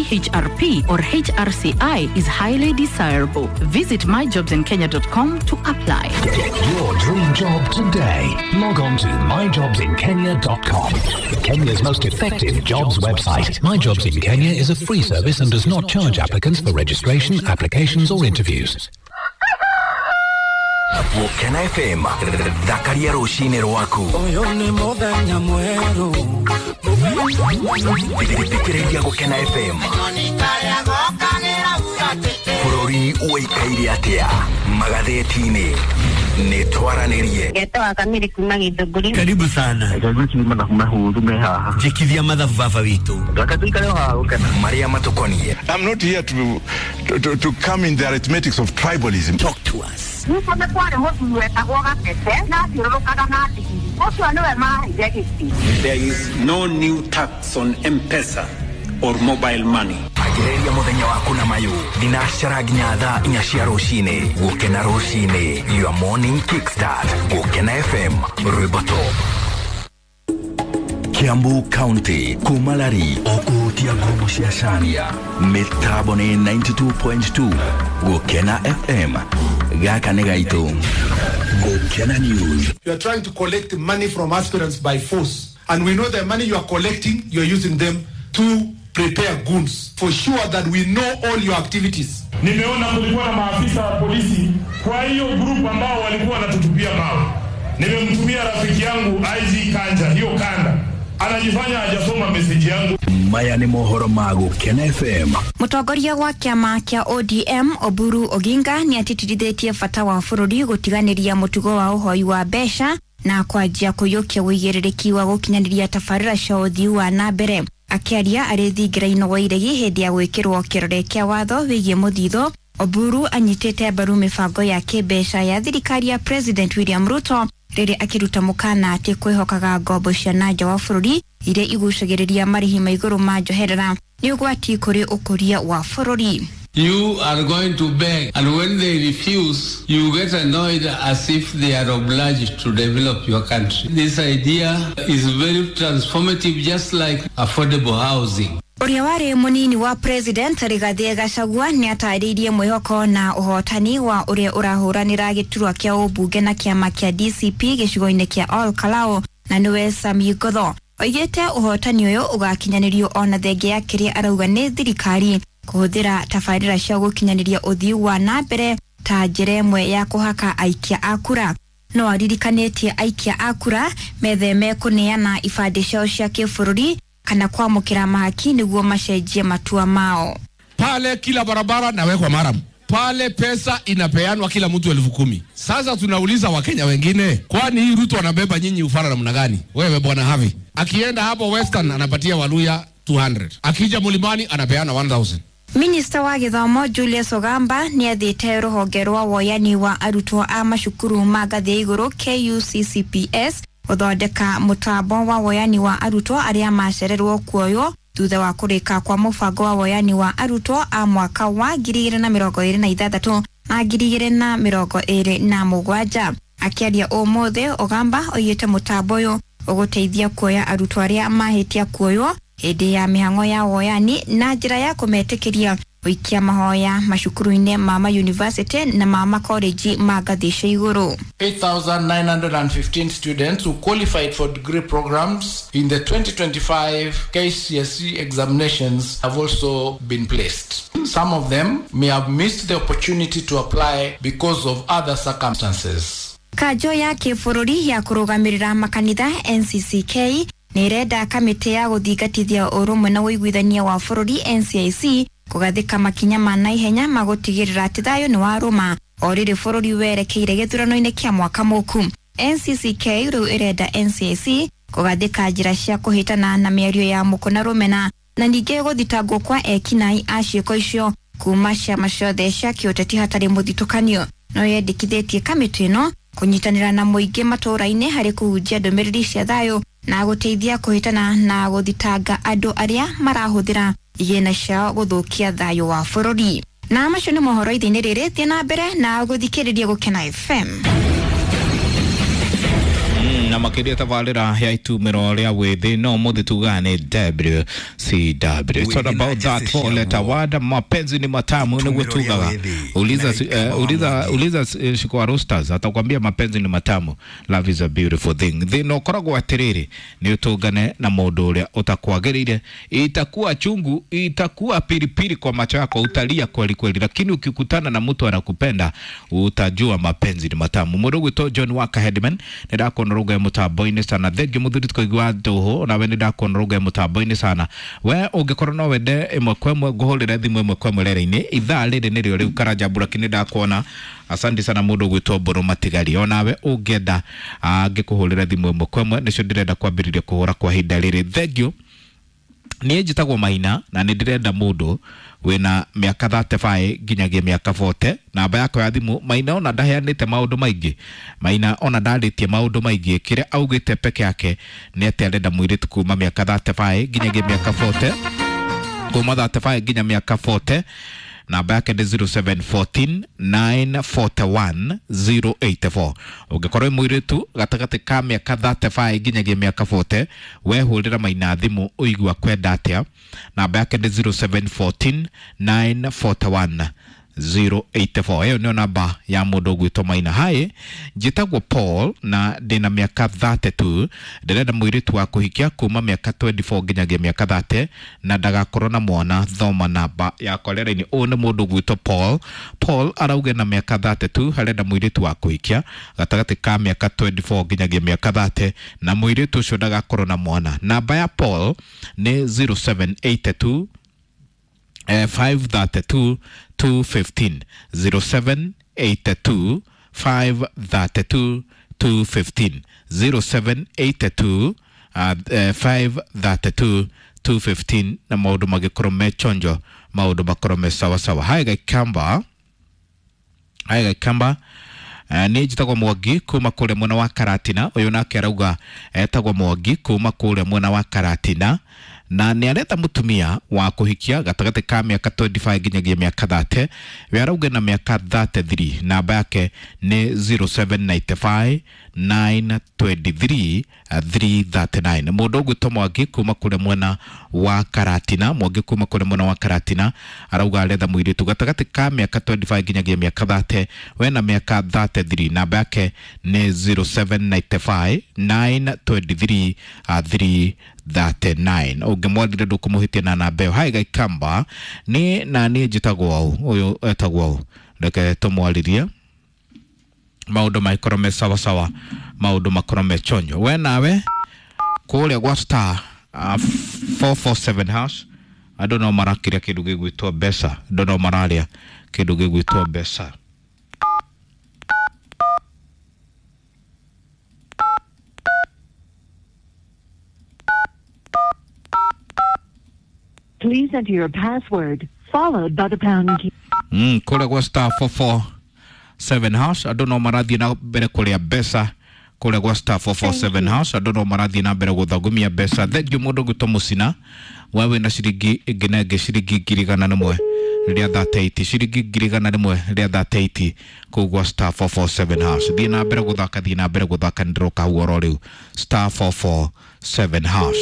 CHRP or HRCI is highly desirable. Visit myjobsinkenya.com to apply. Get your dream job today. Log on to myjobsinkenya.com. Kenya's most effective jobs website. My Jobs in Kenya is a free service and does not charge applicants for registration, applications, or interviews. Gũkena FM thakaria rũcinĩ rwaku. Ũyũ nĩ mũthenya mwerũ. Thikĩrĩria Gũkena FM. Bũrũri ũikaire atĩa magathĩti-inĩ nĩ twaranĩrie. Ngetoa kamiri kuma Githũngũri. Karibu sana. Mathabu mahũthũ me haha. Njĩkithia mathabu baba witũ. Reke tũikare o haha gũkena. Marĩa matũkoniĩ. I'm not here to come in the arithmetics of tribalism. Talk to us. Nĩkuo nĩ kwarĩ mũthuri wetagwo Gatete na athiũrũrũkaga na ndigiri. Ũcio nĩwe maheire gĩtĩ. There is no new tax on M-Pesa or mobile money. Ambĩrĩria mũthenya waku na mayũ thinacara nginya thaa 4 cia rũcinĩ. Gũkena rũcinĩ, your morning kickstart. Gũkena FM, rwĩmbo top. Kiambu County kumalari okuhutia ngumo cia Caria mĩtambo nĩ 92.2 Gũkena FM gaka nĩ gaitũ. Gũkena News. You are trying to collect money from aspirants by force, and we know the money you are collecting, you are using them to prepare goons. For sure that we know all your activities. Nimeona kulikuwa na maafisa wa polisi kwa hiyo group ambao walikuwa wanatutupia mawe. Nimemtumia rafiki yangu IG Kanja, hiyo kanda anajifanya hajasoma message yangu. Maya nĩ mohoro ma Gũkena FM. Mũtongoria wa kĩama kĩa ODM Oburu Oginga nĩ atĩtĩrithĩtie bata wa bũrũri gũtiganĩria mũtugo wa ũhoi wa mbeca na kwanjia kũiyũkia ũigĩrĩrĩki wa gũkinyanĩria tabarĩra cia ũthii wa na mbere. Akĩaria arĩ thingira-inĩ wa iregi hĩndĩ ya gwĩkĩrwo kĩrore kĩa watho wĩgiĩ mũthithũ, Oburu anyitĩte mbaru mĩbango ya kĩmbeca ya thirikari ya President William Ruto rĩrĩa akĩruta mũkana atĩ kwĩhokaga ngombo cia na nja wa bũrũri iria igucagĩrĩria marĩhi ma igũrũ ma njoherera nĩ ũgwati kũrĩ ũkũria wa bũrũri. You are going to beg, and when they refuse, you get annoyed as if they are obliged to develop your country. This idea is very transformative, just like affordable housing. Ũrĩa warĩ mũnini wa President Rigathĩ Gachagua nĩ atarĩirie mwĩhoko na ũhotani wa ũrĩa ũrahũranĩra gĩturwa kĩa ũmbunge na kĩama kĩa DCP gĩcigo-inĩ kĩa Ol Kalou na nĩwe Sami Ngotho. Oigĩte ũhotani ũyũ ũgakinyanĩrio ona thenge ya kĩrĩa arauga nĩ thirikari kũhũthĩra tabarĩra cia gũkinyanĩria ũthii wa na mbere ta njĩra ĩmwe ya kũhaka aikia a kura. No aririkanĩtie aikia a kura metheme kũneana ibandĩ ciao cia kĩbũrũri kana kwamũkĩra mahaki nĩguo macenjie matua mao. Pale kila barabara nawekwa maram pale, pesa inapeanwa kila mtu 10,000. Sasa tunauliza Wakenya wengine, kwani hii Ruto anabeba nyinyi ufara namna gani? Wewe bwana Havi akienda hapo Western anapatia Waluya 200, akija Mulimani anapeana 1000. Minista wa gĩthomo Julius Ogamba nĩ athĩte rũhonge rwa woyani wa arutwo a macukuru ma ngathĩ ya igũrũ KUCCPS gũthondeka mũtambo wa woyani wa arutwo arĩa macererwo kuoywo thutha wa kũrĩka kwa mũbango wa woyani wa arutwo a mwaka wa 2026 na 2027. Akĩaria ũmũthĩ, Ogamba oigĩte mũtambo ũyũ ũgũteithia kuoya arutwo arĩa mahĩtia kuoywo hĩndĩ ya mĩhang'o ya woyani na njĩra ya kũmetĩkĩria gũikia mahoya macukuru-inĩ ma mayunivasĩtĩ na ma makoreji ma ngathĩ cia igũrũ. 8,915 students who qualified for degree programs in the 2025 KCSE examinations have also been placed. Some of them may have missed the opportunity to apply because of other circumstances. Kanjo ya kĩbũrũri ya kũrũgamĩrĩra makanitha NCCK nĩ ĩrenda kamĩtĩ ya gũthingatithia ũrũmwe na ũiguithania wa bũrũri NCIC kũgathĩka makinya ma naihenya ma gũtigĩrĩra atĩ thayũ nĩ warũma o rĩrĩ bũrũri werekeire gĩthurano-inĩ kĩa mwaka mũku. NCCK rĩu ĩrenda NCIC kũgathĩka njĩra cia kũhĩtana na mĩario ya mũkũ na rũmena na ningĩ gũthitangwo kwa ekinaĩ a ciĩko icio kuma ciama ciothe cia kĩũteti hatarĩ mũthitũkanio. No yendekithĩtie kamĩtĩ ĩno kũnyitanĩra na mũingĩ matũũra-inĩ harĩ kũhunjia ndũmĩrĩri cia thayũ na gũteithia kũhĩtana na gũthitanga andũ arĩa marahũthĩra igĩna ciao gũthũkia thayũ wa bũrũri. Na macio nĩ mohoro ithe-inĩ rĩrĩ, thiĩ na mbere na gũthikĩrĩria Gũkena FM. Na makiria tabarĩra ya itumĩro rĩa wĩthĩ no mũthĩ tugaga nĩ WCW. It's all about that four letter word. Mapenzi ni matamu nĩguo tugaga. Uliza uliza uliza Shiko Roasters atakwambia mapenzi ni matamu. Love is a beautiful thing. Thĩna ũkoragwo atĩrĩrĩ nĩ ũtũngane na mũndũ ũrĩa ũtakwagĩrĩire, itakuwa chungu, itakuwa pilipili kwa macho yako, utalia kweli kweli, lakini ukikutana na mtu anakupenda utajua mapenzi ni matamu. Mũndũ ũgwĩtwo John Walker Headman nĩ ndakuona rũgae mũtambo-inĩ sana. Thengiũ mũthuri tũkaigua ndũhũ nawe nĩ ndakuona rũgae mũtambo-inĩ sana. We ũngĩkorwo no wende ĩmwe kwa ĩmwe ngũhũrĩre thimũ ĩmwe kwa ĩmwe rera-inĩ ithaa rĩrĩ nĩrĩo rĩu Karanja Mburaki nĩ ndakuona. Asante sana mũndũ ũgwĩtwo Mbũrũ Matigari, onawe ũngĩenda ngĩkũhũrĩre thimũ ĩmwe kwa ĩmwe nĩcio ndĩrenda kwambĩrĩria kũhũra kwa ihinda rĩrĩ. Thengiũ. Niĩ njĩtagwo Maina na nĩ ndĩrenda mũndũ wĩna mĩaka 35 nginyagia mĩaka 40. Namba yakwa ya thimũ, Maina ona ndaheanĩte maũndũ maingĩ, Maina ona ndarĩtie maũndũ maingĩ, kĩrĩa augĩte peke yake nĩ atĩ arenda mũirĩtu kuma mĩaka 35 nginyagia mĩaka 40, kuma 35 nginya mĩaka 40. Namba yake nĩ 0714 941 084. Ũngĩkorwo wĩ mũirĩtu gatagatĩ ka mĩaka 35 nginyagia mĩaka 40, we hũrĩra Maina thimũ ũigua kwenda atĩa. Namba yake nĩ 0714 941 084. Ĩyo nĩyo namba ya mũndũ ũgwĩtwo Maina. Hi, njĩtagwo Paul na ndĩna mĩaka 32. Ndĩrenda mũirĩtu wa kũhikia kuma mĩaka 24 nginyagia mĩaka 30 na ndagakorwo na mwana. Thoma namba yakwa rera-inĩ. Ũyũ nĩ mũndũ ũgwĩtwo Paul. Paul arauga na mĩaka 32 arenda mũirĩtu wa kũhikia gatagatĩ ka mĩaka 24 nginyagia mĩaka 30 na mũirĩtu ũcio ndagakorwo na mwana. Namba ya Paul nĩ 0782 532 215, 0782 532 215, 0782 532 215 na maũndũ magĩkorwo me chonjo, maũndũ makorwo me sawasawa. Hai Gaikamba, hai Gaikamba. Nĩ njĩtagwo Mwangi kuma kũrĩa mwena wa Karatina. Ũyũ nake arauga etagwo Mwangi kuma kũrĩa mwena wa Karatina na nĩ areta mũtumia wa kũhikia gatagatĩ ka mĩaka 25 nginyagia mĩaka 30. We arauga na mĩaka 33. Namba yake nĩ 0795 923 339. Mũndũ ũgwĩtwo Mwangi kuma kũrĩa mwena wa Karatina, Mwangi kuma kũrĩa mwena wa Karatina arauga aretha mũirĩtu gatagatĩ ka mĩaka 25 nginyagia mĩaka 30, we na mĩaka 33. Namba yake nĩ 0795 923 339. Ũngĩmwarire ndũkũmũhĩtia na namba ĩyo. Hai Gaikamba, nĩ na niĩ njĩtagwo ũũ, ũyũ etagwo ũũ, reke tũmwarĩrie maũndũ magĩkorwo me sawasawa, maũndũ makorwo me chonjo. We nawe kũrĩa gwa star 447 hash andũ no marakĩrĩa kĩndũ gĩgwĩtwo mbeca, andũ no mararĩa kĩndũ gĩgwĩtwo mbeca. Please enter your password followed by the pound key. Kũrĩa gwa star 447 hash andũ no marathiĩ na mbere kũrĩa mbeca. Kũrĩa gwa star 447 hash andũ no marathiĩ na mbere gũthagumia mbeca. Thengiũ mũndũ ũgwĩtwo Mũcina, we wĩna ciringi ĩngĩ na ĩngĩ ciringi 100,000 rĩa 38, ciringi 100,000 rĩa 38 kũu gwa star 447 hash. Thiĩ na mbere gũthaka, thiĩ na mbere gũthaka, nĩndĩroka hau oro rĩu star 447 hash.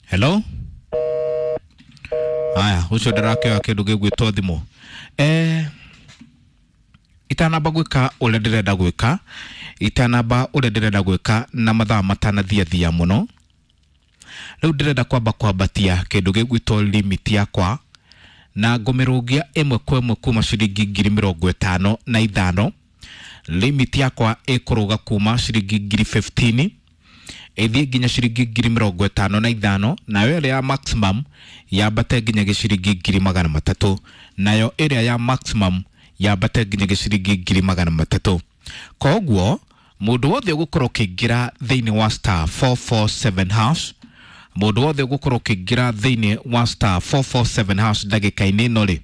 Hello? Aya, ucio ndirakĩoya kĩndũ gĩgwĩtwo thimũ. Itanamba gwĩka ũrĩa ndĩrenda gwĩka, itanamba ũrĩa ndĩrenda gwĩka na mathaa matanathiathia mũno, rĩu ndĩrenda kwamba kwambatia kĩndũ gĩgwĩtwo limit yakwa na ngũmĩrũngia ĩmwe kwa ĩmwe kuma ciringi 55,000. Limit yakwa ĩkũrũga kuma ciringi 15,000 ĩthiĩ nginya ciringi 55,000, nayo ĩrĩa ya maximum yambate nginya gĩciringi 300,000, nayo ĩrĩa ya maximum yambate nginya gĩciringi 300,000. Koguo mũndũ wothe ũgũkorwo ũkĩingĩra thĩinĩ wa star 447 hash, mũndũ wothe ũgũkorwo ũkĩingĩra thĩinĩ wa star 447 hash ndagĩka-inĩ ĩno rĩ,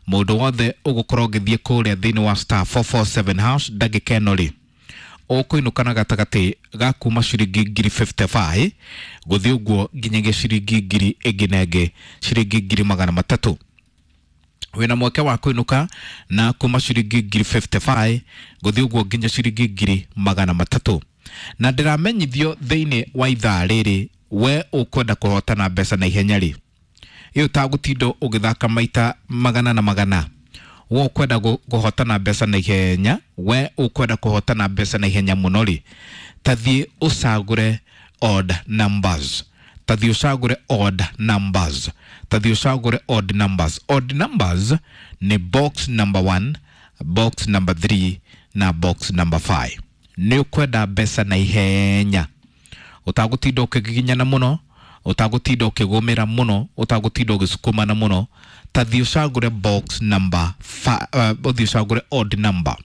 mũndũ wothe ũgũkorwo ũgĩthiĩ kũrĩa thĩinĩ wa star 447 hash ndagĩka ĩno rĩ, Ũkũinũka na gatagatĩ ga kuma ciringi 55,000 gũthiĩ ũguo nginyagia ciringi ngiri ĩngĩ na ĩngĩ, ciringi 300,000. Wĩna mweke wa kũinũka na kuma ciringi 55,000 gũthiĩ ũguo nginya ciringi 300,000. Na ndĩramenyithio thĩinĩ wa ithaa rĩrĩ, we ũkwenda kũhotana mbeca na ihenya rĩ, ĩyo ũtagũtinda ũgĩthaka maita magana na magana, we ũkwenda kũhotana mbeca na ihenya, we ũkwenda kũhotana mbeca na ihenya mũno rĩ, tathiĩ ũcagũre odd numbers, tathiĩ ũcagũre odd numbers, tathiĩ ũcagũre odd numbers. Odd numbers nĩ box number 1, box number 3 na box number 5. Nĩ ũkwenda mbeca na ihenya, ũtagũtinda ũkĩgiginyana mũno, ũtagũtinda ũkĩgũmĩra mũno, ũtagũtinda ũgĩsukumana mũno, tathiĩ ũcagũre box number ũthiĩ ũcagũre odd number.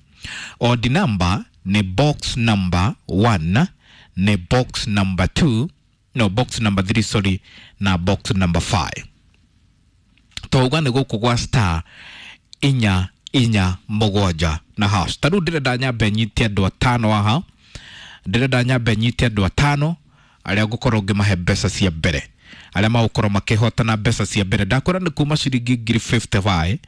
Odd number nĩ box number 1, nĩ box number 2, no box number 3 sorry, na box number 5. Twauga nĩ gũkũ gwa star 4 4 7 na hash. Ta rĩu ndĩrenda nyambe nyite andũ atano haha, ndĩrenda nyambe nyite andũ atano arĩa ngũkorwo ngĩmahe mbeca cia mbere, arĩa magũkorwo makĩhotana mbeca cia mbere. Ndakwĩra nĩ kuma ciringi 55,000,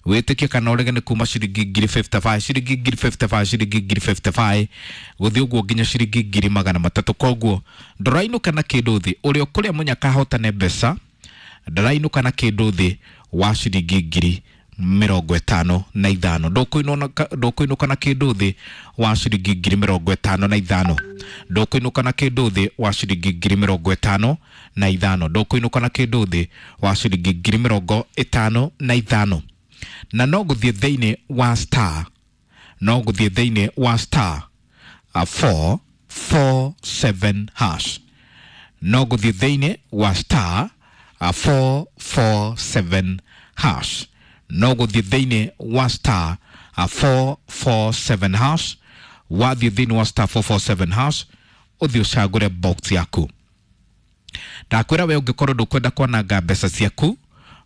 wĩtĩkie kana ũrege, nĩ kuma ciringi 55,000, ciringi 55,000, ciringi 55,000 gũthiĩ ũguo nginya ciringi 300,000. Koguo ndũrainũka na kĩndũ thĩ, ũrĩa ũkũrĩa mũnyaka ahotane mbeca ndarainũka na kĩndũ thĩ wa ciringi 55,000. Ndũkũinũka na kĩndũ thĩ wa ciringi 55,000. Ndũkũinũka na kĩndũ thĩ wa ciringi 55,000. Ndũkũinũka na kĩndũ thĩ wa ciringi 55,000. Na no gũthiĩ thĩinĩ wa star, no gũthiĩ thĩinĩ wa star 447 hash, no gũthiĩ thĩinĩ wa star 447 hash, no gũthiĩ thĩinĩ wa star 447 hash. Wathiĩ thĩinĩ wa star 447 hash, ũthiĩ ũcagũre box yaku. Ndakwĩra we ũngĩkorwo ndũkwenda kwananga mbeca ciaku,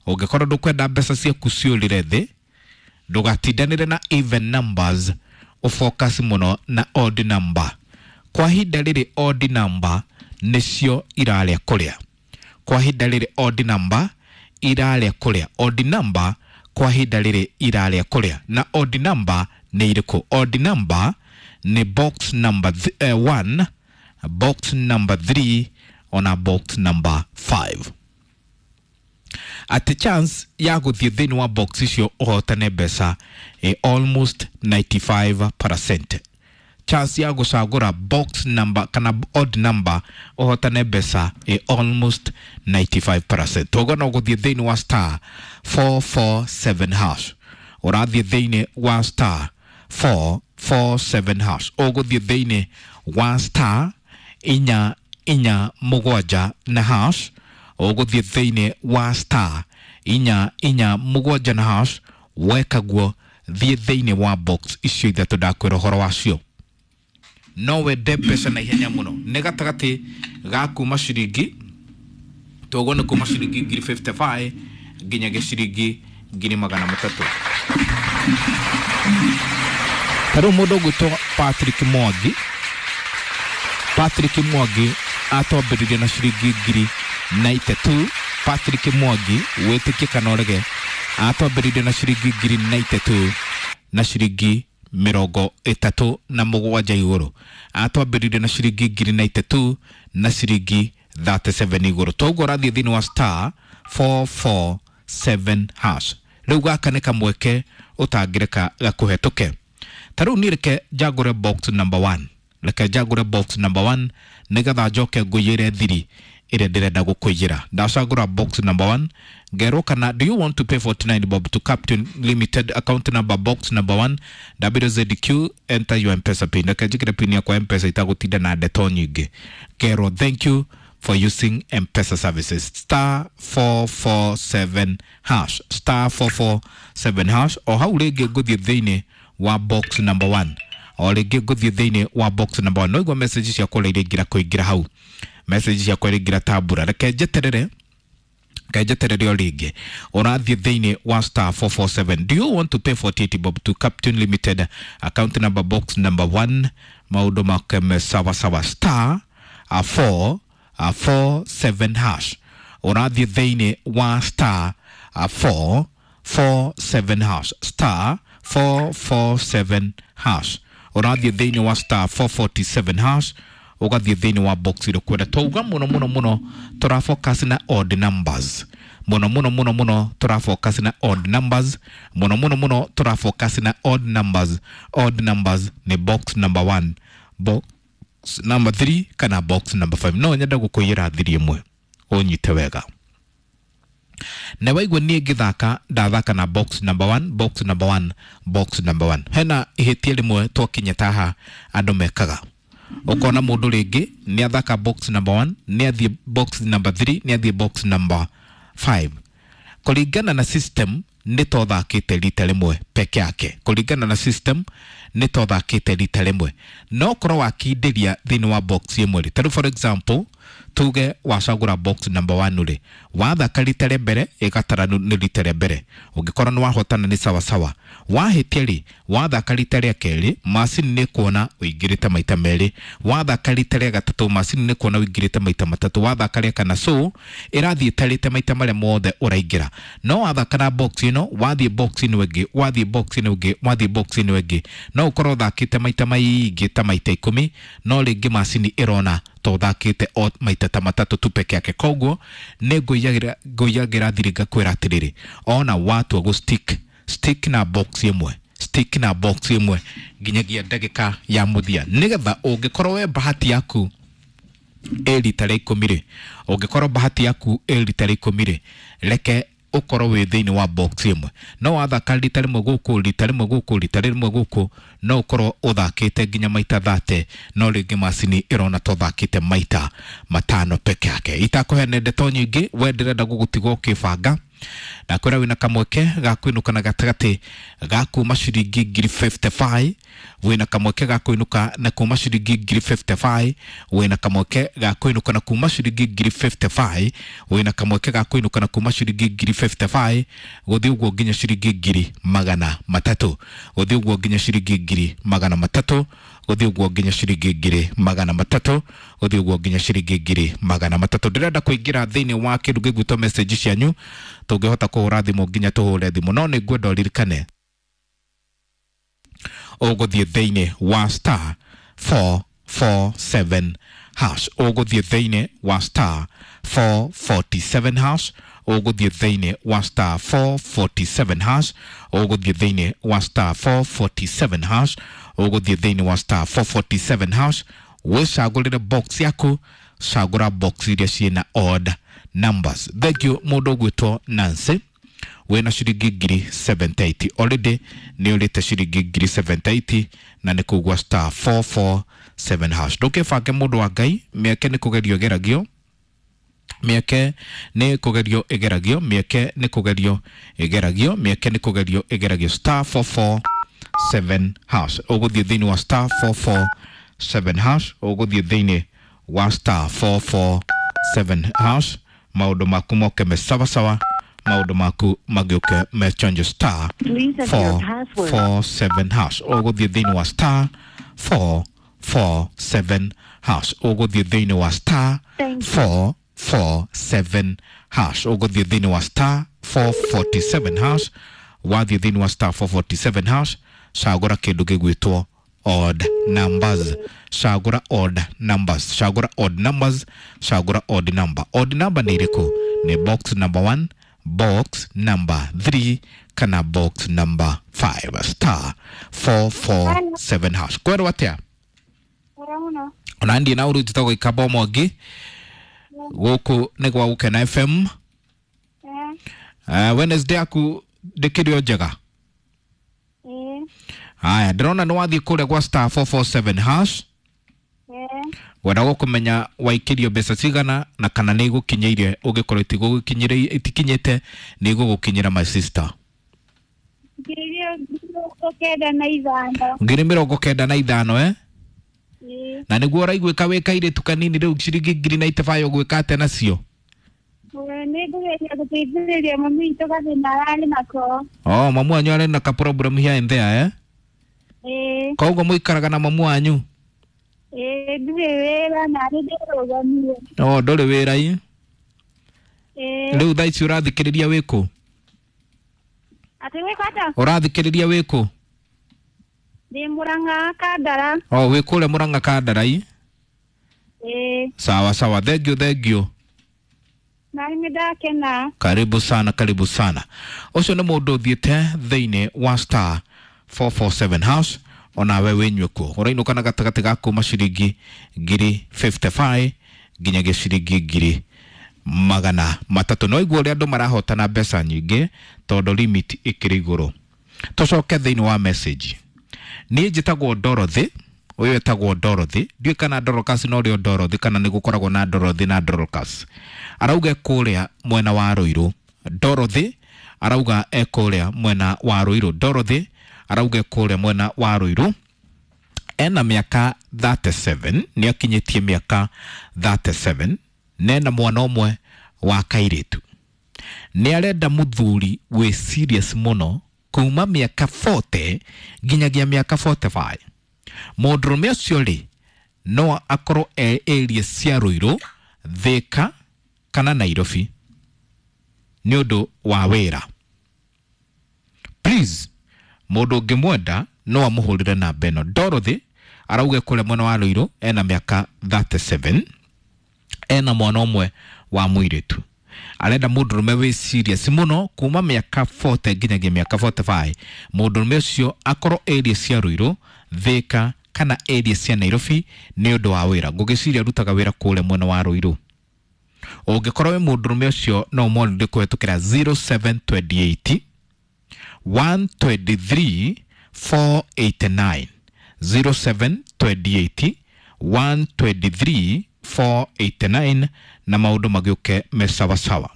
ũngĩkorwo ndũkwenda mbeca ciaku ciũrĩre thĩ, ndũgatindanĩre na even numbers, ũfocus mũno na odd number. Kwa ihinda rĩrĩ odd number nĩcio irarĩa kũrĩa. Kwa ihinda rĩrĩ odd number irarĩa kũrĩa. Odd number kwa ihinda rĩrĩ irarĩa kũrĩa. Na odd number nĩ irĩkũ? Odd number nĩ box number 1, box number 3 ona box number 5. Atĩ chance ya gũthiĩ thĩinĩ wa box icio ũhotane mbeca almost 95%. Chance ya gũcagũra box number kana odd number ũhotane mbeca almost 95%. Toguo no gũthiĩ thĩinĩ wa star 447 hash, ũrathiĩ thĩinĩ wa star 447 hash, ũgũthiĩ thĩinĩ wa star 4 4 7 na hash, ũgũthiĩ thĩinĩ wa star 4 4 7 na hash. Weka guo thiĩ thĩinĩ wa box icio ithatũ ndakwĩra ũhoro wacio. No wende mbeca na ihenya mũno, nĩ gatagatĩ ga kuma ciringi, toguo nĩ kuma ciringi 55,000 nginyagia ciringi 300,000. Ta rĩu mũndũ ũgwĩtwo Patrick Mwangi, Patrick Mwangi atwambĩrĩirie na ciringi 92,000. Patrick Mwangi, wĩtĩkie kana ũrege, atwambĩrĩirie na ciringi 92,000 na ciringi 37 igũrũ. Atwambĩrĩirie na ciringi 93,000 na ciringi 37 igũrũ. Toguo ũrathiĩ thĩinĩ wa star 447 hash. Rĩu gaka nĩ kamweke ũtangĩreka gakũhetũke. Ta rĩu niĩ reke njagũre box number 1, reke njagũre box number 1 nĩgetha njoke ngũiyĩre thiri ĩrĩa ndĩrenda gũkũiyĩra. Ndacagũra box number 1, ngerwo kana do you want to pay 49 bob to Captain Limited account number box number 1 WZQ, enter your M-Pesa pin. Reke njĩkĩre pin yakwa M-Pesa itagũtinda na ndeto nyingĩ. Ngerwo thank you for using M-Pesa services. Star 447 hash, star 447 hash. O hau rĩngĩ ngũthiĩ thĩinĩ wa box number 1, o rĩngĩ ngũthiĩ thĩinĩ wa box number 1. No igua message ciakwa ũrĩa iraingĩra kũingĩra hau, message ciakwa iraingĩra tambura. Reke njeterere Ngejetererio rĩngĩ, ũrathiĩ thĩinĩ wa star 447. Do you want to pay 48 bob to Captain Limited, account number, box number 1? Maũndũ make sawa sawa. Star 4 4 7 hash. Ũrathiĩ thĩinĩ wa star 4 4 7 hash, star 4 4 7 hash. Ũrathiĩ thĩinĩ wa star 447 hash, ũgathiĩ thĩinĩ wa box ĩrĩa ũkwenda. Twauga mũno mũno mũno tũrafocus na odd numbers, mũno mũno mũno mũno tũrafocus na odd numbers, mũno mũno mũno tũrafocus na odd numbers. Odd numbers nĩ box number 1, box number 3 kana box number 5. No nyenda gũkũiyĩra thiri ĩmwe ũnyite wega na waigua niĩ ngĩthaka ndathaka na box number 1, box number 1, box number 1. Hena ihĩtia rĩmwe twakinya taha andũ mekaga, ũkona mũndũ rĩngĩ nĩ athaka box number 1, nĩ athiĩ box number 3, nĩ athiĩ box number 5. Kũringana na system nĩ tothakĩte rita rĩmwe peke yake, kũringana na system nĩ tothakĩte rita rĩmwe, no korwo wakindĩria thĩinĩ wa box ĩmwe rĩ, tarĩu for example tuge wacagũra box number 1 rĩ, wathaka rita rĩa mbere ĩgatara nĩ rita rĩa mbere, ũngĩkorwo nĩ wahotana nĩ sawasawa. Wahĩtia rĩ, wathaka rita rĩa kerĩ macini nĩ kuona ũingĩrĩte maita merĩ, wathaka rita rĩa gatatũ macini nĩ kuona ũingĩrĩte maita matatũ, wathaka rĩa kana, so ĩrathiĩ ĩtarĩte maita marĩa mothe ũraingĩra. No wathaka na box ĩno, wathiĩ box ĩno ĩngĩ, wathiĩ box ĩno ĩngĩ, wathiĩ box ĩno ĩngĩ, no ũkorwo ũthakĩte maita maingĩ ta maita 10, no rĩngĩ macini ĩrona to ũthakĩte o maita ta matatũ tu peke yake. Koguo nĩ ngũiyagĩra thiri ngakwĩra atĩrĩrĩ, ona watua gũ stick, stick na box ĩmwe, stick na box ĩmwe nginyagia ndagĩka ya mũthia, nĩgetha ũngĩkorwo we bahati yaku ĩ rita rĩa 10 rĩ, ũngĩkorwo bahati yaku ĩ rita rĩa 10 rĩ, reke ũkorwo wĩ thĩinĩ wa box ĩmwe. No wathaka rita rĩmwe gũkũ, rita rĩmwe gũkũ, rita rĩmwe gũkũ, no ũkorwo ũthakĩte nginya maita 30, no rĩngĩ macini ĩrona ta ũthakĩte maita 5 peke yake. Itakũheana ndeto nyingĩ, we ndĩrenda gũgũtigwo ũkĩbanga na kwĩra wĩna kamweke ga kũinũka na gatagatĩ ga kuma ciringi 55,000, wĩna kamweke ga kũinũka na kuma ciringi 55,000, wĩna kamweke ga kũinũka na kuma ciringi 55,000, wĩna kamweke ga kũinũka na kuma ciringi 55,000, gũthiĩ ũguo nginya ciringi 300,000, gũthiĩ ũguo nginya ciringi 300,000, gũthiĩ ũguo nginya ciringi 300,000, gũthiĩ ũguo nginya ciringi 300,000. Ndĩrenda kũingĩra thĩinĩ wa kĩndũ gĩgwĩtwo message cianyu, tũngĩhota kũhũra thimũ nginya tũhũre thimũ, no nĩ ngwenda ũririkane ũgũthiĩ thĩinĩ wa star 447 hash, ũgũthiĩ thĩinĩ wa star 447 hash, ũgũthiĩ thĩinĩ wa star 447 hash, ũgũthiĩ thĩinĩ wa star 447 hash, ũgũthiĩ thĩinĩ wa star 447 hash, wĩcagũrĩre box yaku, cagũra box iria ciĩna odd numbers. Thank you mũndũ ũgwĩtwo Nancy, wĩna ciringi 70,000 already, nĩ ũrĩte ciringi 70,000 na nĩ kũgwa star 447 hash. Ndũkĩbange mũndũ wa Ngai, mĩeke nĩ kũgerio ĩgeragio, mĩeke nĩ kũgerio ĩgeragio, mĩeke nĩ kũgerio ĩgeragio, mĩeke nĩ kũgerio ĩgeragio. Star 447 hash, ũgũthiĩ thĩinĩ wa star 447 hash, ũgũthiĩ thĩinĩ wa star 447 hash, maũndũ maku moke me sawasawa, maũndũ maku magĩũke me chonjo. Star 447 hash, ũgũthiĩ thĩinĩ wa star 447 hash, ũgũthiĩ thĩinĩ wa star 447 hash, ũgũthiĩ thĩinĩ wa star 447 hash, wathiĩ thĩinĩ wa star 447 hash, cagũra kĩndũ gĩgwĩtwo odd numbers, cagũra odd numbers, cagũra odd numbers, cagũra odd number. Odd number nĩ ĩrĩkũ? Nĩ box number 1, box number 3 kana box number 5. Star 447 hash. Kwerwo atĩa? Ona ndiĩ na ũru, njĩtagwo Ikamba Mwangi, gũkũ nĩ gwa Gũkena FM. Wednesday yaku ndĩkĩrĩ o njega? Haya, ndĩrona nĩ wathiĩ kũrĩa gwa star 447 hash, wenda gũkũmenya waikĩrio mbeca cigana na kana nĩ igũkinyĩire, ũngĩkorwo itikinyĩte nĩ igũgũkinyĩra my sister. 95,000. 95,000 eh? Na nĩguo ũraiguĩka wĩ kairĩtu kanini rĩu ciringi 95,000 ũgwĩka atĩa nacio? Nĩ ngũgeria gũteithĩrĩria mami witũ gathĩna ararĩ nako. Oh, mamu wanyu arĩ na ka problem here and there, eh? Ĩĩ. Koguo mũikaraga na mamu wanyu? Ĩĩ, ndirĩ wĩra na nĩ ndĩrũgamire. Oh, ndũrĩ wĩra i? Ĩĩ. Rĩu thaa ici ũrathikĩrĩria wĩkũ? Atĩ gwĩka atĩa? Ũrathikĩrĩria wĩkũ? Ndĩ Mũrang'a Kandara. Oh, wĩ kũrĩa Mũrang'a Kandara i? Ĩĩ. Sawa sawa, thank you, thank you. Na nĩ ndakena. Karibu sana, karibu sana. Ũcio nĩ mũndũ ũthiĩte thĩinĩ wa star 447 house onawe wĩnyue kuo. Ũrainũka na gatagatĩ ga kuma ciringi 55,000 nginyagia ciringi 300,000. No igua ũrĩa andũ marahotana mbeca nyingĩ tondũ limit ĩkĩrĩ igũrũ. Tũcoke thĩinĩ wa message. Niĩ njĩtagwo Dorothy, ũyũ etagwo Dorothy, ndiũĩ kana Dorcas no rĩo Dorothy kana nĩ gũkoragwo na Dorothy na Dorcas. Arauga kũrĩa mwena wa Ruiru. Dorothy arauga e kũrĩa mwena wa Ruiru. Dorothy arauga kũrĩa mwena wa Ruiru. Ena mĩaka 37, nĩ akinyĩtie mĩaka 37, na ena mwana ũmwe wa kairĩtu. Nĩ arenda mũthuri wĩ serious mũno kuma mĩaka 40 nginyagia mĩaka 45. Mũndũrũme ũcio rĩ no akorwo e area cia Ruiru, Thika kana Nairobi nĩ ũndũ wa wĩra. Please, mũndũ ũngĩmwenda no amũhũrĩre namba ĩno. Dorothy arauga kũrĩa mwena wa Ruiru, ena mĩaka 37, ena mwana ũmwe wa mũirĩtu. Arenda mũndũrũme wĩ serious mũno kuma mĩaka 40 nginyagia mĩaka 45. Mũndũrũme ũcio akorwo area cia Ruiru, Thika kana area cia Nairobi nĩ ũndũ wa wĩra. Ngũgĩciria arutaga wĩra kũrĩa mwena wa Ruiru. Ũngĩkorwo wĩ mũndũrũme ũcio no ũmwarĩrie kũhetũkĩra 0728 123 489, 0728 123 489 na maũndũ magĩũke me sawasawa.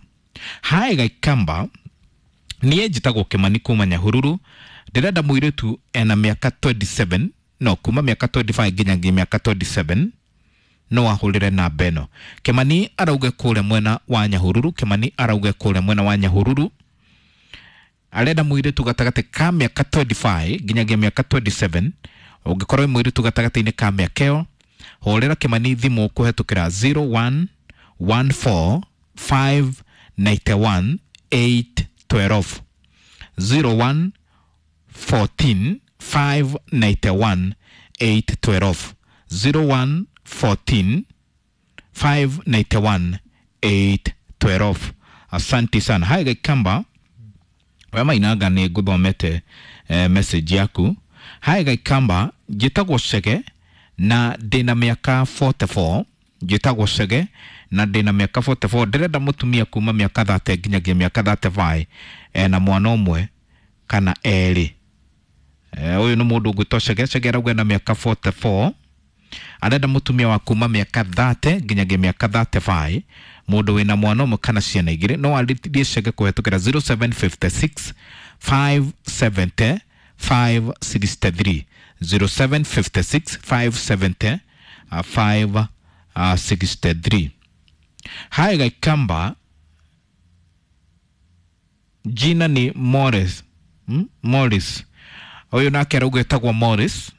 Hae Gaikamba, niĩ njĩtagwo Kĩmani kuma Nyahururu, ndĩrenda mũirĩtu ena mĩaka 27, no kuma mĩaka 25 nginyagia mĩaka 27 no ahũrĩre namba ĩno. Kĩmani arauge kũrĩa mwena wa Nyahururu, Kĩmani arauge kũrĩa mwena wa Nyahururu, arenda mũirĩtu gatagatĩ ka mĩaka 25 nginyagia mĩaka 27. Ũngĩkorwo wĩ mũirĩtu gatagatĩ-inĩ ka mĩaka ĩyo, hũrĩra Kĩmani thimũ kũhetũkĩra 0114 591 812, 01 14 591 812, 01 14 591 812. Asante sana. Hai Gaikamba, we mainaga nĩ ngũthomete message yaku. Hai Gaikamba, njĩtagwo Chege na ndĩna mĩaka 44, njĩtagwo Chege na ndĩna mĩaka 44, ndĩrenda mũtumia kuma mĩaka 30 nginyagia mĩaka 35, ena mwana ũmwe kana erĩ. Ũyũ nĩ mũndũ ũgwĩtwo Chege. Chege arauga na mĩaka 44, arenda mũtumia wa kuma mĩaka 30 nginyagia mĩaka 35, mũndũ wĩna mwana ũmwe kana ciana igĩrĩ. No arĩtie Chege kũhetũkĩra 0756 570 563, 0756 570 563. Hai Gaikamba, jina ni Morris. Morris ũyũ nake arauga etagwo Morris.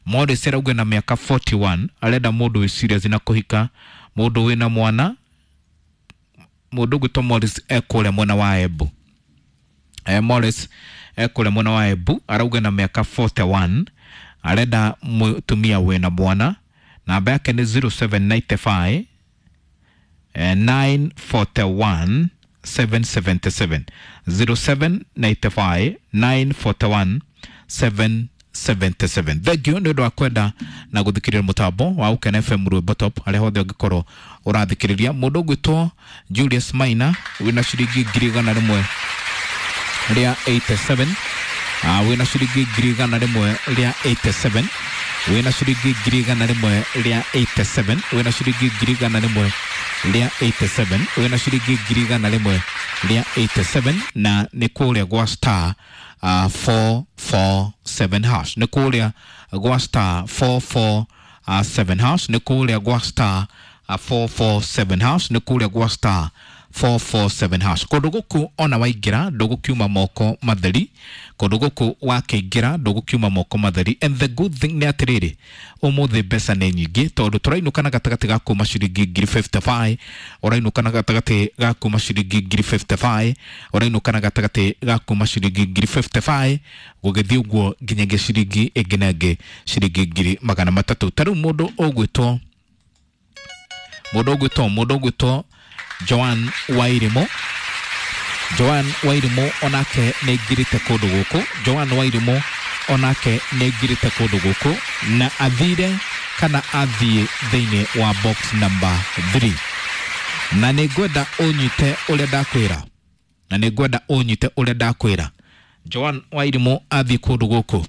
Morris arauga na mĩaka 41, arenda mũndũ wĩ serious na kũhika, mũndũ wĩna mwana. Mũndũ ũgwĩtwo Morris e kũrĩa mwena wa Embu. Morris e kũrĩa mwena wa Embu, arauga na mĩaka 41, arenda mũtumia wĩna mwana. Namba yake nĩ 0795 941 777, 0795 941 777. Thank you nĩ ũndũ wa kwenda na gũthikĩrĩria mũtambo wa Ũkena FM Rwĩmbo Top harĩa hothe ũngĩkorwo ũrathikĩrĩria. Mũndũ ũgwĩtwo Julius Maina wĩna ciringi 187,000, wĩna ciringi 187,000, wĩna ciringi 187,000, wĩna ciringi 187,000, wĩna ciringi 187,000, na nĩ kũrĩa gwa star 447 hash, nĩ kũrĩa gwa star 447 hash, nĩ kũrĩa gwa star 447 hash, nĩ kũrĩa gwa star 447 hash. Kũndũ gũkũ ona waingĩra ndũgũkiuma moko matheri, kũndũ gũkũ wakĩingĩra ndũgũkiuma moko matheri. And the good thing nĩ atĩrĩrĩ, ũmũthĩ mbeca nĩ nyingĩ tondũ tũrainũka na gatagatĩ ga kuma ciringi ngiri 55, ũrainũka na gatagatĩ ga kuma ciringi ngiri 55, ũrainũka na gatagatĩ ga kuma ciringi ngiri 55 gũgĩthiĩ ũguo nginyagia ciringi ĩngĩ na ĩngĩ ciringi ngiri magana matatũ. Ta rĩu mũndũ ũgwĩtwo Joan Wairimu, Joan Wairimu onake nĩ aingĩrĩte kũndũ gũkũ. Joan Wairimu onake nĩ aingĩrĩte kũndũ gũkũ na athire kana athiĩ thĩinĩ wa box number 3. Na nĩ ngwenda ũnyite ũrĩa ndakwĩra, na nĩ ngwenda ũnyite ũrĩa ndakwĩra. Joan Wairimu athiĩ kũndũ gũkũ,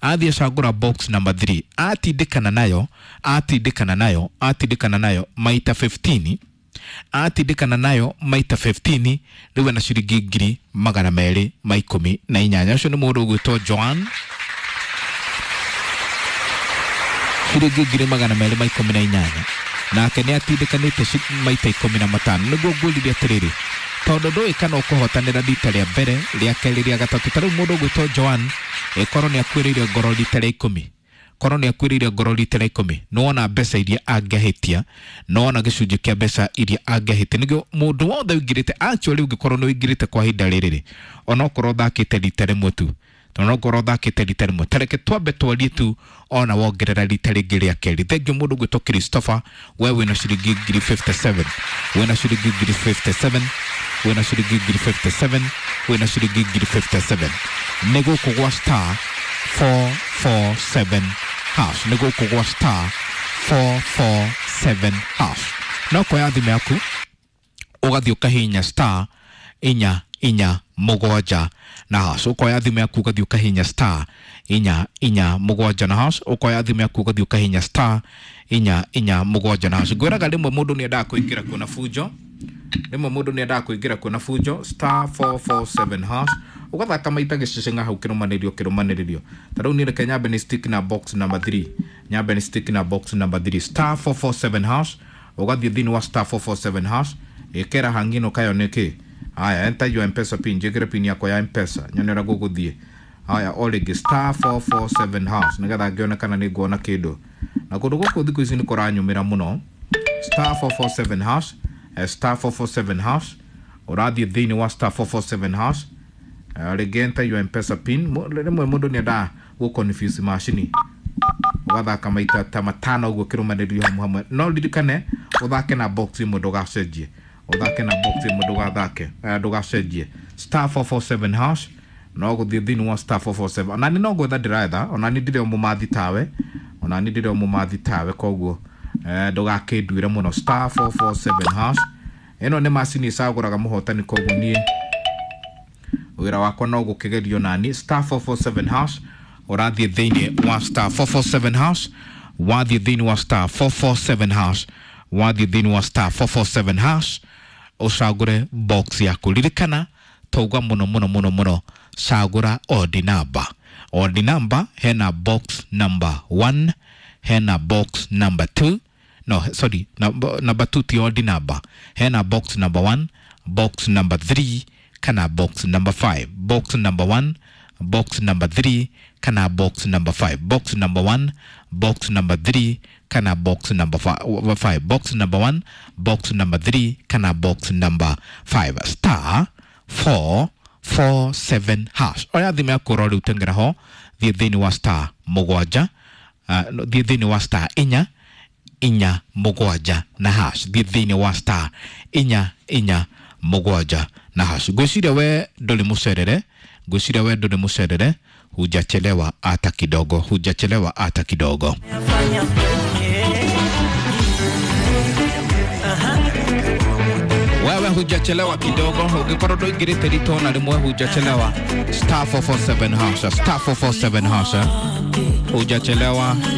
athiĩ acagũra box number 3, atindĩkana nayo, atindĩkana nayo, atindĩkana nayo maita 15, atindĩkana nayo maita 15, rĩu ena ciringi ngiri magana merĩ ma ikũmi na inyanya. Ũcio nĩ mũndũ ũgwĩtwo Joan, ciringi ngiri magana merĩ ma ikũmi na inyanya, nake nĩ atindĩkanĩte maita 15. Nĩguo ngwĩrire atĩrĩrĩ, tondũ ndũĩ kana ũkũhotanĩra rita rĩa mbere, rĩa kerĩ, rĩa gatatũ. Ta rĩu mũndũ ũgwĩtwo Joan ĩkorwo nĩ akuĩrĩire ngoro rita rĩa 10, korwo nĩ akuĩrĩire ngoro rita rĩa 10, nĩwona mbeca iria angĩahĩtia, nĩwona gĩcunjĩ kĩa mbeca iria angĩahĩtia. Nĩguo mũndũ wothe ũingĩrĩte, actually ũngĩkorwo nĩ ũingĩrĩte kwa ihinda rĩrĩ, onokorwo ũthakĩte rita rĩmwe tu, onokorwo ũthakĩte rita rĩmwe, ta reke twambe twarie tu, ona wongerera rita rĩngĩ rĩa kerĩ. Thengiũ mũndũ ũgwĩtwo Christopher, we wĩna ciringi ngiri 57, wĩna ciringi ngiri 57, wĩna ciringi ngiri 57, wĩna ciringi ngiri 57. Nĩ gũkũ gwa star 447 hash, nĩ gũkũ gwa star 447 hash. No koya thimũ yaku ũgathiĩ ũkahihinya star 4 4 7 na hash. Ũkoya thimũ yaku ũgathiĩ ũkahihinya star 4 4 7 na hash. Ũkoya thimũ yaku ũgathiĩ ũkahihinya star 4 4 7 na hash. Ngwĩraga rĩmwe mũndũ nĩ endaga kũingĩra kuona bunjo, rĩmwe mũndũ nĩ endaga kũingĩra kuona bunjo. Star 447 hash, ũgathaka maita gĩceceng'a hau kĩrũmanĩrĩrio kĩrũmanĩrĩrio. Ta rĩu niĩ reke nyambe nĩ stick na box number 3, nyambe nĩ stick na box number 3, star 447 hash. Ũgathiĩ thĩinĩ wa star 447 hash, ĩkĩra hangino kayo nĩkĩ. Haya, enter your M-Pesa pin, njĩkĩre pin yakwa ya M-Pesa nyone ũrĩa gũgũthiĩ. Haya, o rĩngĩ star 447 hash nĩgetha ngĩone kana nĩ nguona kĩndũ. Na kũndũ gũkũ thikũ ici nĩ kũranyumĩra mũno. Star 447 hash, star 447 hash, ũrathiĩ thĩinĩ wa star 447 hash. Rĩngĩ enter your M-Pesa pin. Rĩmwe mũndũ nĩ endaga gũ confuse macini, ũgathaka maita ta matano ũguo kĩrũmanĩrĩrio hamwe hamwe. No ririkane ũthake na box ĩmwe, ndũgacenjie, ũthake na box ĩmwe, ndũgathake, ndũgacenjie. Star 447 hash, no gũthiĩ thĩinĩ wa star 447. Ona nĩ no gwetha ndĩretha, ona nĩ ndĩrĩ o mũmathi tawe, ona nĩ ndĩrĩ o mũmathi tawe, koguo ndũgakĩnduĩre mũno. Star 447 hash, ĩno nĩ macini ĩcagũraga mũhotani, koguo niĩ wĩra wakwa no gũkĩgerio nani. Star 447 hash, ũrathiĩ thĩinĩ wa star 447 hash, wathiĩ thĩinĩ wa star 447 hash, wathiĩ thĩinĩ wa star 447 hash, ũcagũre box yaku. Ririkana tauga mũno mũno mũno mũno, cagũra odd number. Odd number hena box number 1, hena box number 2, no sorry, number 2 ti odd number, hena box number 1, box number 3 kana box number 5. Box number 1, box number 3 kana box number 5. Box number 1, box number 3 kana box number 5. Box number 1, box number 3 kana box number 5. Star 447 hash. Oya thimũ yaku ũrore ũtengera ho, thiĩ thĩinĩ wa star 7, thiĩ thĩinĩ wa star 4 4 7 na hash. Thiĩ thĩinĩ wa star 4 4 7 na hash. Ngwĩciria we ndũrĩ mũcerere, ngwĩciria we ndũrĩ mũcerere, hujachelewa hata kidogo, hujachelewa hata kidogo. Wewe hujachelewa kidogo, ũngĩkorwo ndũingĩrĩte rita ona rĩmwe hujachelewa. Star 447 hash, star 447 hash, hujachelewa.